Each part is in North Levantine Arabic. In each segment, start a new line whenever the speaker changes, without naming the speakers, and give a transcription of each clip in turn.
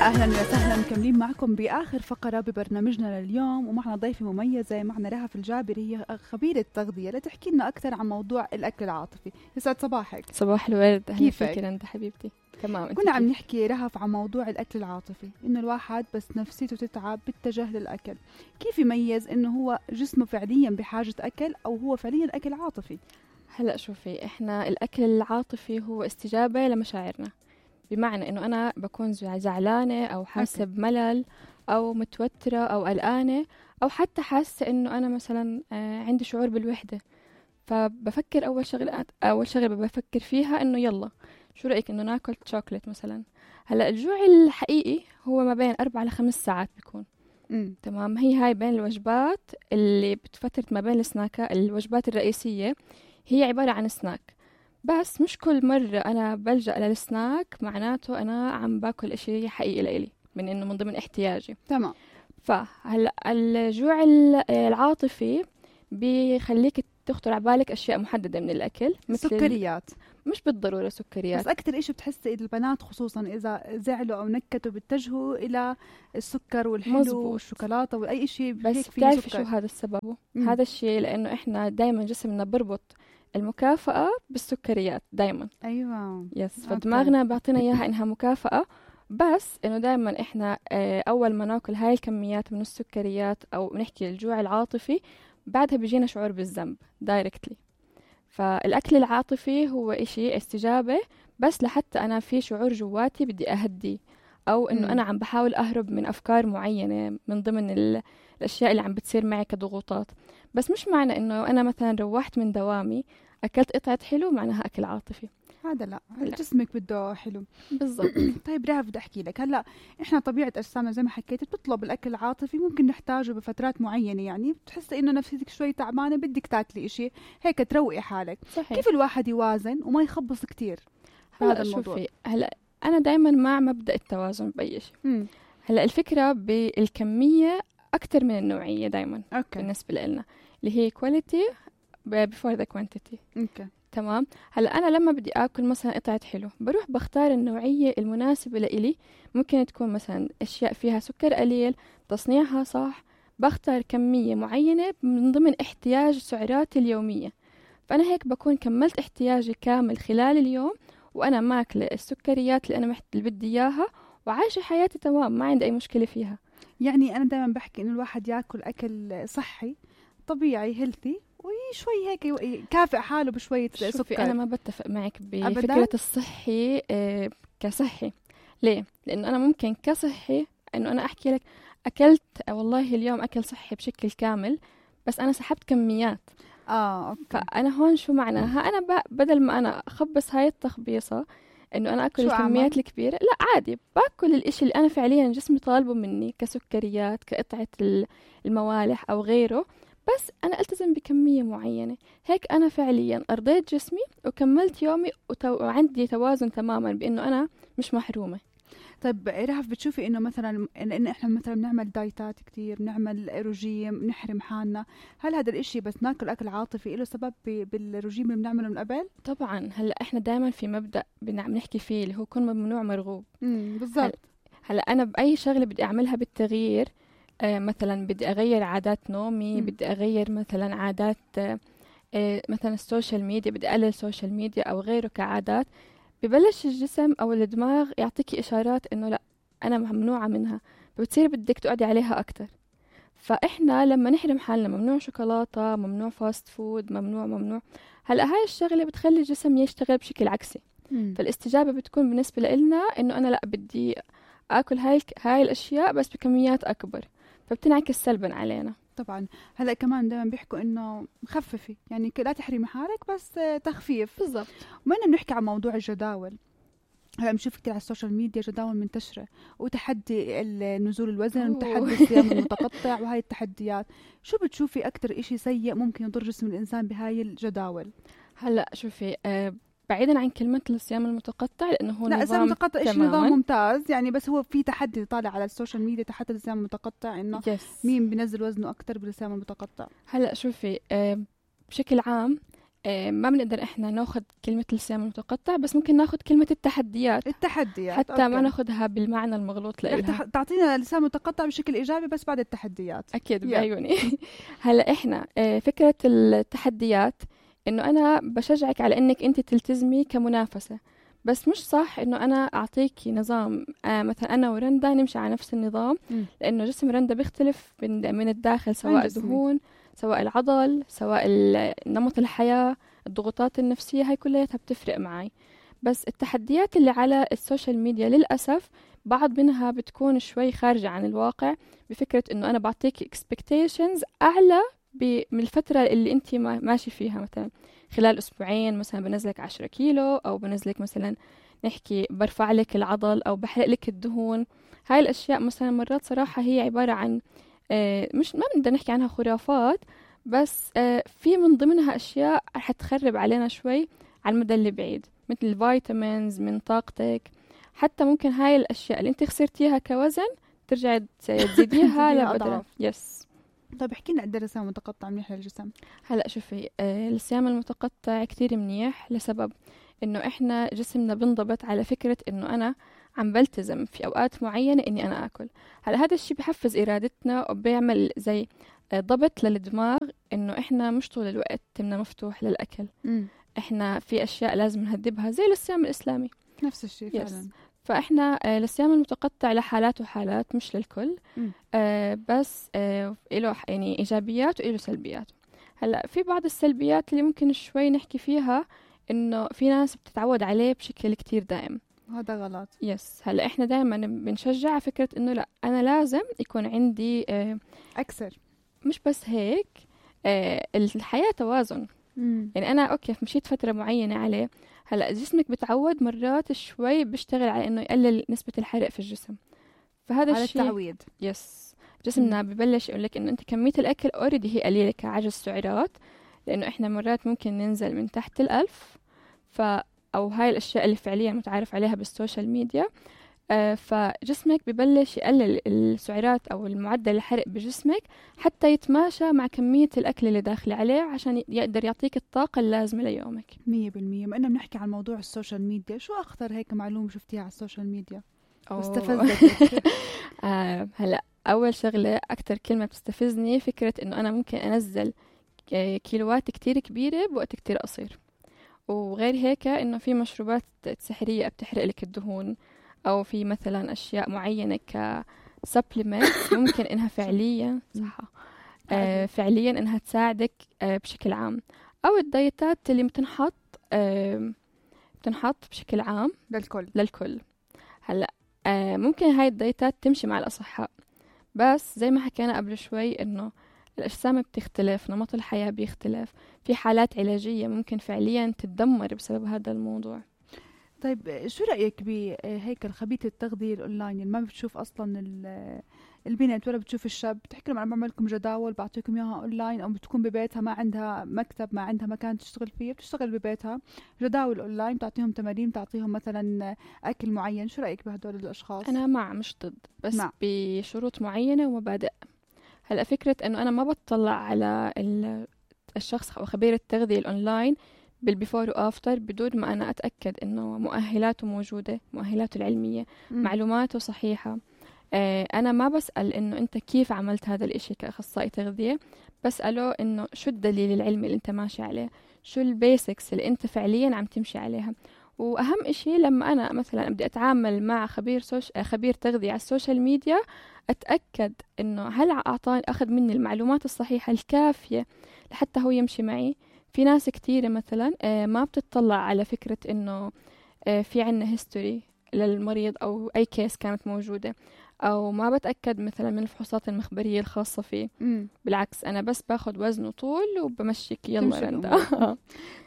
أهلا وسهلا، مكملين معكم بآخر فقرة ببرنامجنا لليوم، ومعنا ضيفة مميزة، معنا رهف الجابري، هي خبيرة تغذية، لتحكي لنا أكثر عن موضوع الأكل العاطفي. يسعد صباحك.
صباح الورد.
كيفك
انت حبيبتي؟ تمام.
كنا عم نحكي رهف عن موضوع الأكل العاطفي، إنه الواحد بس نفسيته تتعب باتجاه للأكل، كيف يميز إنه هو جسمه فعليا بحاجة أكل أو هو فعليا أكل عاطفي؟
هلأ شوفي، إحنا الأكل العاطفي هو استجابة لمشاعرنا، بمعنى إنه أنا بكون زعلانة أو حاسة بملل أو متوترة أو قلقانة أو حتى حاسة إنه أنا مثلا عندي شعور بالوحدة، فبفكر أول شغلة بفكر فيها إنه يلا شو رأيك إنه ناكل شوكولات مثلا. هلأ الجوع الحقيقي هو ما بين 4 ل5 ساعات بيكون. تمام. هاي بين الوجبات اللي بتفترة ما بين السناكات، الوجبات الرئيسية هي عبارة عن سناك، بس مش كل مرة أنا بلجأ للسناك معناته أنا عم باكل إشي حقيقي لإلي، من إنه من ضمن احتياجي.
تمام.
فهلأ الجوع العاطفي بيخليك تخطر على بالك أشياء محددة من الأكل، مثل
سكريات.
مش بالضرورة سكريات،
بس أكتر إشي بتحسي البنات خصوصا إذا زعلوا أو نكتوا بيتجهوا إلى السكر والحلو والشوكولاتة وأي إشي
بس بتعرفي شو هذا السبب؟ هذا الشيء لأنه إحنا دايما جسمنا بربط المكافأة بالسكريات دايما.
أيوة.
يس. فدماغنا بعطينا إياها إنها مكافأة، بس إنه دايما إحنا أول ما ناكل هاي الكميات من السكريات أو نحكي الجوع العاطفي، بعدها بيجينا شعور بالذنب دايركتلي. فالأكل العاطفي هو إشي استجابة، بس لحتى أنا في شعور جواتي بدي أهدي، أو إنه أنا عم بحاول أهرب من أفكار معينة من ضمن الأشياء اللي عم بتصير معي كضغوطات. بس مش معنى إنه أنا مثلا روحت من دوامي أكلت قطعة حلو معناها أكل عاطفي.
هذا لا، جسمك بده حلو.
بالضبط.
طيب رهف، بدي أحكي لك هلا، إحنا طبيعة أجسامنا زي ما حكيت بتطلب الأكل العاطفي، ممكن نحتاجه بفترات معينة، يعني بتحسي إنه نفسيتك شوي تعبانة بدك تاكلي إشي هيك تروقي حالك.
صحيح.
كيف الواحد يوازن وما يخبص كتير هذا الموضوع؟
شوفي، هلا أنا دايما مع مبدأ التوازن بأي شيء. هلا الفكرة بالكمية أكتر من النوعية دايما. بالنسبة لنا اللي هي quality before the quantity. تمام. هلا أنا لما بدي أكل مثلا قطعة حلو بروح بختار النوعية المناسبة لإلي، ممكن تكون مثلا أشياء فيها سكر قليل، تصنيعها صح، بختار كمية معينة من ضمن احتياج سعراتي اليومية، فأنا هيك بكون كملت احتياجي كامل خلال اليوم، وأنا ماكلة السكريات اللي أنا اللي بدي إياها، وعايشة حياتي تمام، ما عندي أي مشكلة فيها.
يعني أنا دائما بحكي إنه الواحد يأكل أكل صحي طبيعي هيلثي، وشوي هيك يكافئ حاله بشوية سكر.
أنا ما بتفق معك بفكرة الصحي كصحي. ليه؟ لأنه أنا ممكن كصحي إنه أنا أحكي لك أكلت والله اليوم أكل صحي بشكل كامل، بس أنا سحبت كميات.
أوكي.
فأنا هون شو معناها؟ أنا بدل ما أنا أخبص هاي التخبيصة إنه أنا أكل الكميات الكبيرة، لا عادي باكل الإشي اللي أنا فعليا جسمي طالبه مني كسكريات، كقطعة الموالح أو غيره، بس أنا ألتزم بكمية معينة، هيك أنا فعليا أرضيت جسمي وكملت يومي وعندي توازن تماما بأنه أنا مش محرومة.
طيب رهف، بتشوفي إنه مثلا إن إحنا مثلا بنعمل دايتات كتير، بنعمل رجيم، نحرم حالنا، هل هذا الإشي بس ناكل أكل عاطفي له سبب بالرجيم اللي بنعمله من قبل؟
طبعا. هلا إحنا دائما في مبدأ بنحكي فيه اللي هو كن ممنوع مرغوب.
بالضبط.
هلا أنا بأي شغلة بدي أعملها بالتغيير، مثلا بدي أغير عادات نومي، بدي أغير مثلا عادات مثلا السوشيال ميديا، بدي أقلل السوشيال ميديا أو غيره كعادات، ببلش الجسم أو الدماغ يعطيكي إشارات إنه لا أنا ممنوعة منها، فبتصير بدك تقعدي عليها أكتر. فإحنا لما نحرم حالنا ممنوع شوكولاتة، ممنوع فاست فود، ممنوع هلأ هاي الشغلة بتخلي الجسم يشتغل بشكل عكسي. فالاستجابة بتكون بالنسبة لنا إنه أنا لا بدي أكل هاي الأشياء بس بكميات أكبر، فبتنعكس سلبا علينا.
طبعا. هلا كمان دائما بيحكوا انه خففي، يعني لا تحرمي حالك بس تخفيف.
بالضبط.
وما بنحكي عن موضوع الجداول، هلا بنشوف كتير على السوشيال ميديا جداول منتشرة، وتحدي نزول الوزن، وتحدي الصيام المتقطع، وهاي التحديات، شو بتشوفي أكتر إشي سيء ممكن يضر جسم الإنسان بهاي الجداول؟
هلا شوفي، بعيدا عن كلمة الصيام المتقطع لأنه هو
لا، الصيام المتقطع إيش
تماماً.
نظام ممتاز يعني، بس هو في تحدي طالع على السوشيال ميديا، تحدي الصيام المتقطع، إنه مين بينزل وزنه أكتر بالصيام المتقطع.
هلا شوفي، بشكل عام ما بنقدر إحنا ناخذ كلمة الصيام المتقطع، بس ممكن ناخذ كلمة التحديات حتى ما ناخذها بالمعنى المغلوط لإلها.
تعطينا لسان متقطع بشكل إيجابي بس بعد التحديات.
أكيد بعيوني. هلا إحنا فكرة التحديات إنه أنا بشجعك على إنك أنت تلتزمي كمنافسة، بس مش صح إنه أنا أعطيكي نظام مثلا أنا ورندا نمشي على نفس النظام، لأنه جسم رندا بيختلف من الداخل، سواء دهون، سواء العضل، سواء نمط الحياة، الضغوطات النفسية، هاي كلها بتفرق معي. بس التحديات اللي على السوشيال ميديا للأسف بعض منها بتكون شوي خارجة عن الواقع، بفكرة إنه أنا بعطيك expectations أعلى من الفترة اللي أنت ماشي فيها. مثلا خلال أسبوعين مثلا بنزلك 10 كيلو، أو بنزلك مثلا نحكي برفع لك العضل أو بحرق لك الدهون. هاي الأشياء مثلا مرات صراحة هي عبارة عن مش ما بنقدر نحكي عنها خرافات، بس في من ضمنها أشياء رح تخرب علينا شوي على المدى اللي بعيد، مثل الفيتامينز من طاقتك. حتى ممكن هاي الأشياء اللي انت خسرتيها كوزن ترجع تزيديها لأضعاف. يس.
طيب احكي لنا قد ايه الصيام المتقطع منيح للجسم؟
هلا شوفي، الصيام المتقطع كتير منيح لسبب انه احنا جسمنا بنضبط على فكرة انه انا عم بلتزم في اوقات معينة اني انا اكل. هلا هذا الشيء بحفز ارادتنا وبيعمل زي ضبط للدماغ انه احنا مش طول الوقت تمنا مفتوح للاكل. احنا في اشياء لازم نهذبها زي الصيام الاسلامي.
نفس الشيء فعلا.
فاحنا الصيام المتقطع لحالات وحالات، مش للكل. بس له يعني ايجابيات وله سلبيات. هلا في بعض السلبيات اللي ممكن شوي نحكي فيها، انه في ناس بتتعود عليه بشكل كتير دائم.
هذا غلط.
يس. هلا احنا دائما بنشجع فكرة انه لا، انا لازم يكون عندي
اكثر.
مش بس هيك، الحياة توازن. يعني انا اوكي مشيت فترة معينة عليه، هلا جسمك بتعود مرات شوي بيشتغل على انه يقلل نسبة الحرق في الجسم. فهذا
على
الشيء
التعويد.
يس. جسمنا ببلش يقول لك انه انت كمية الاكل اوريدي هي قليلة كعجز سعرات، لانه احنا مرات ممكن ننزل من تحت 1000. او هاي الاشياء اللي فعليا متعارف عليها بالسوشيال ميديا. فجسمك ببلش يقلل السعرات او المعدل الحرق بجسمك حتى يتماشى مع كمية الاكل اللي داخل عليه، عشان يقدر يعطيك الطاقة اللازمة ليومك.
100%. ما إننا بنحكي عن موضوع السوشيال ميديا، شو أخطر هيك معلومة شفتيها على السوشيال ميديا واستفزتك؟
هلا أول شغلة أكتر كلمة بتستفزني فكرة إنه أنا ممكن أنزل كيلوات كتير كبيرة بوقت كتير قصير. وغير هيك إنه في مشروبات سحرية بتحرق لك الدهون، أو في مثلا أشياء معينة كسبلمنت ممكن إنها فعليا فعليا إنها تساعدك بشكل عام، أو الدايتات اللي بتنحط بشكل عام للكل. هلا ممكن هاي الدايتات تمشي مع الأصحاء، بس زي ما حكينا قبل شوي إنه الأجسام بتختلف، نمط الحياة بيختلف، في حالات علاجية ممكن فعليا تتدمر بسبب هذا الموضوع.
طيب شو رأيك بهيك الخبيث التغذية الأونلاين اللي ما بتشوف أصلا البنت ولا بتشوف الشاب، بتحكي لهم أنا بعمل لكم جداول بعطيكم إياها أونلاين، أو بتكون ببيتها ما عندها مكتب، ما عندها مكان تشتغل فيه، بتشتغل ببيتها جداول أونلاين، بتعطيهم تمارين، بتعطيهم مثلا أكل معين. شو رأيك بهدول الأشخاص؟
أنا مش ضد، بس بشروط معينة ومبادئ. هلأ فكرة أنه أنا ما بتطلع على الشخص أو خبير التغذية الأونلاين بالبيفور وآفتر بدون ما أنا أتأكد أنه مؤهلاته موجودة، مؤهلاته العلمية، معلوماته صحيحة. أنا ما بسأل أنه أنت كيف عملت هذا الإشي كأخصائي تغذية، بسأله أنه شو الدليل العلمي اللي أنت ماشي عليه، شو البيسكس اللي أنت فعليا عم تمشي عليها. وأهم إشي لما أنا مثلا بدي أتعامل مع خبير تغذية على السوشيال ميديا، أتأكد أنه هل أخذ مني المعلومات الصحيحة الكافية لحتى هو يمشي معي. في ناس كتيرة مثلا ما بتطلع على فكرة أنه في عنا هيستوري للمريض أو أي كيس كانت موجودة، أو ما بتأكد مثلا من الفحوصات المخبرية الخاصة فيه. بالعكس أنا بس باخد وزن وطول وبمشيك يلا رندا.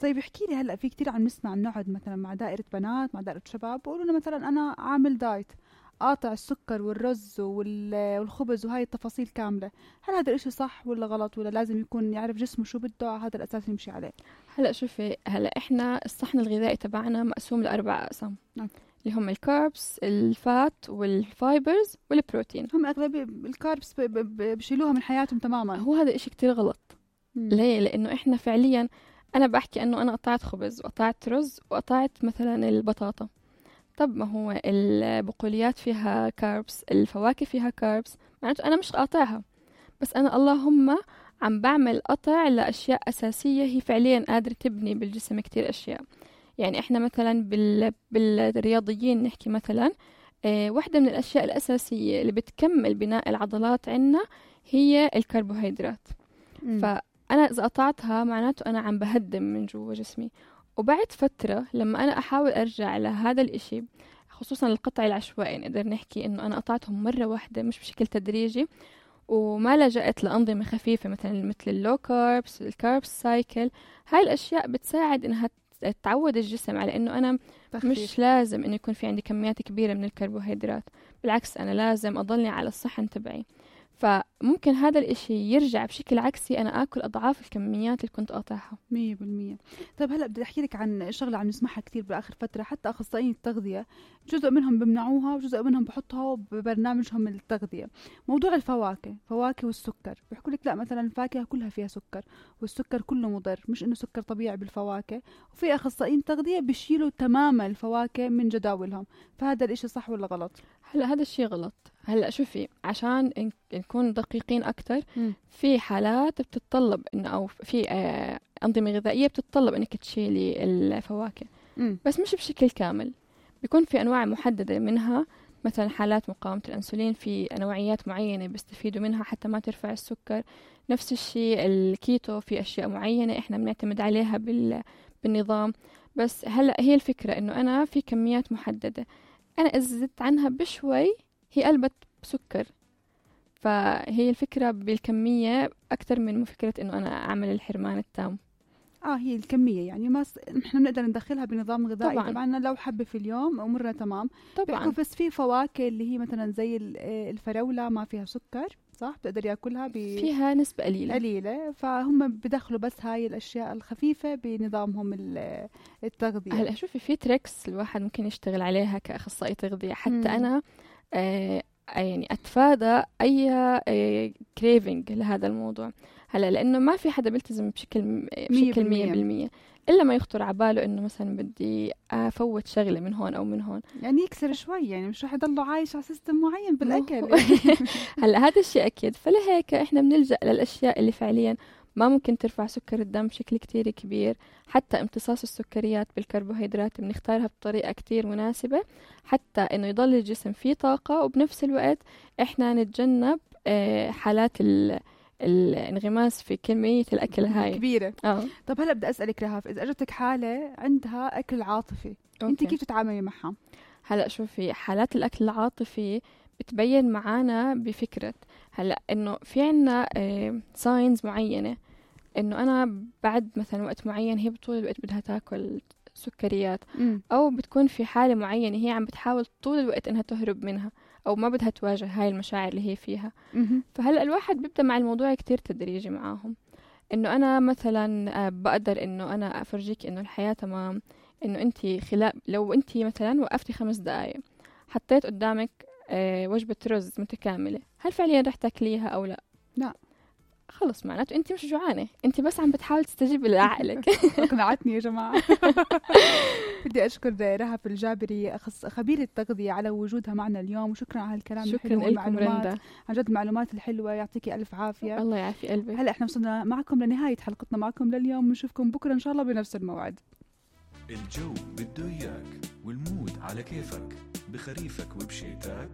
طيب احكي لي، هلأ في كتير عم نسمع نقعد مثلا مع دائرة بنات، مع دائرة شباب، بقولوا لنا مثلا أنا عامل دايت، قاطع السكر والرز والخبز وهاي التفاصيل كاملة. هل هذا الاشي صح ولا غلط، ولا لازم يكون يعرف جسمه شو بده على هذا الأساس يمشي عليه؟
هلأ شوفي، هلأ إحنا الصحن الغذائي تبعنا مقسوم ل4 أقسام، اللي هم الكاربس، الفات، والفايبرز، والبروتين.
هم أغلبية الكاربس بشيلوها من حياتهم تماما.
هو هذا إشي كتير غلط. ليه؟ لأنه إحنا فعليا أنا بحكي إنه أنا قطعت خبز وقطعت رز وقطعت مثلا البطاطا. طب ما هو البقوليات فيها كاربس، الفواكه فيها كاربس، معناته أنا مش قاطعها، بس أنا اللهم عم بعمل قطع لأشياء أساسية هي فعليا قادرة تبني بالجسم كتير أشياء. يعني إحنا مثلا بالرياضيين نحكي مثلا واحدة من الأشياء الأساسية اللي بتكمل بناء العضلات عنا هي الكربوهيدرات. فأنا إذا قطعتها معناته أنا عم بهدم من جوا جسمي. وبعد فترة لما أنا أحاول أرجع لهذا الإشي، خصوصا القطع العشوائي، نقدر نحكي إنه أنا قطعتهم مرة واحدة مش بشكل تدريجي، وما لجأت لأنظمة خفيفة مثل اللو كاربس، الكاربس سايكل. هاي الأشياء بتساعد إنها تعود الجسم على إنه أنا مش لازم إنه يكون في عندي كميات كبيرة من الكربوهيدرات، بالعكس أنا لازم أضلني على الصحن تبعي. فممكن هذا الإشي يرجع بشكل عكسي، أنا آكل أضعاف الكميات اللي كنت قاطعها.
100%. طيب هلأ بدي أحكي لك عن شغلة عم نسمعها كتير بآخر فترة، حتى أخصائيين التغذية جزء منهم بمنعوها وجزء منهم بحطها ببرنامجهم التغذية. موضوع الفواكه والسكر، بيحكوا لك لا مثلا الفاكهة كلها فيها سكر والسكر كله مضر، مش إنه سكر طبيعي بالفواكه. وفي أخصائيين تغذية بيشيلوا تماما الفواكه من جداولهم، فهذا الإشي صح ولا غلط؟
هلا هذا الشيء غلط. هلا شوفي، عشان نكون دقيقين أكتر، في حالات بتتطلب إنه أو في أنظمة غذائية بتتطلب إنك تشيلي الفواكه، بس مش بشكل كامل. بيكون في أنواع محددة منها، مثلا حالات مقاومة الأنسولين في نوعيات معينة بيستفيدوا منها حتى ما ترفع السكر. نفس الشيء الكيتو في أشياء معينة إحنا بنعتمد عليها بالنظام. بس هلا هي الفكرة إنه أنا في كميات محددة، أنا إذا زدت عنها بشوي هي قلبت بسكر. فهي الفكرة بالكمية أكتر من فكرة إنه أنا أعمل الحرمان التام.
هي الكمية، يعني ما نحن بنقدر ندخلها بنظام غذائي. طبعا لو حبة في اليوم أمورنا تمام طبعا. بس في فواكه اللي هي مثلا زي الفراولة ما فيها سكر، صح؟ بتقدر ياكلها
فيها نسبة قليلة،
فهم بدخلوا بس هاي الأشياء الخفيفة بنظامهم التغذية.
هلا شوفي، في تريكس الواحد ممكن يشتغل عليها كأخصائي تغذية حتى أنا يعني أتفادى أي كريفينج لهذا الموضوع. هلا لأنه ما في حدا بيلتزم بشكل 100% إلا ما يخطر عباله إنه مثلا بدي أفوت شغلة من هون أو من هون،
يعني يكسر شوي، يعني مش رح يضله عايش على سيستم معين بالأكل.
هلا هذا الشيء أكيد. فلهيك إحنا بنلجأ للأشياء اللي فعليا ما ممكن ترفع سكر الدم بشكل كتير كبير. حتى امتصاص السكريات بالكربوهيدرات بنختارها بطريقة كتير مناسبة حتى إنه يضل الجسم فيه طاقة، وبنفس الوقت إحنا نتجنب حالات الانغماس في كمية الأكل هاي
كبيرة. طب هلأ بدي أسألك رهف، إذا أجتك حالة عندها أكل عاطفي، أنت كيف تتعاملي معها؟
هلأ شوفي، حالات الأكل العاطفي بتبين معانا بفكرة هلأ إنه في عنا ساينز معينة إنه أنا بعد مثلا وقت معين هي طول الوقت بدها تاكل سكريات، أو بتكون في حالة معينة هي عم بتحاول طول الوقت إنها تهرب منها أو ما بدها تواجه هاي المشاعر اللي هي فيها. فهلأ الواحد بيبدأ مع الموضوع كتير تدريجي معاهم، إنه أنا مثلا بقدر إنه أنا أفرجيك إنه الحياة تمام، إنه أنتي لو أنتي مثلا وقفتي 5 دقايق حطيت قدامك وجبة رز متكاملة، هل فعليا رح تاكليها أو لا؟
لا.
خلص معناته أنت مش جوعانة، أنت بس عم بتحاول تستجيبي لعقلك.
أقنعتني يا جماعة. بدي أشكر رهف الجابري خبيرة التغذية على وجودها معنا اليوم، وشكرا على الكلام
الحلو والمعلومات،
عن جد المعلومات الحلوة، يعطيكي ألف عافية.
الله يعافي قلبي.
هلأ احنا وصلنا معكم لنهاية حلقتنا معكم لليوم، ونشوفكم بكرة إن شاء الله بنفس الموعد.
الجو بده إياك والمود على كيفك، بخريفك وبشيتك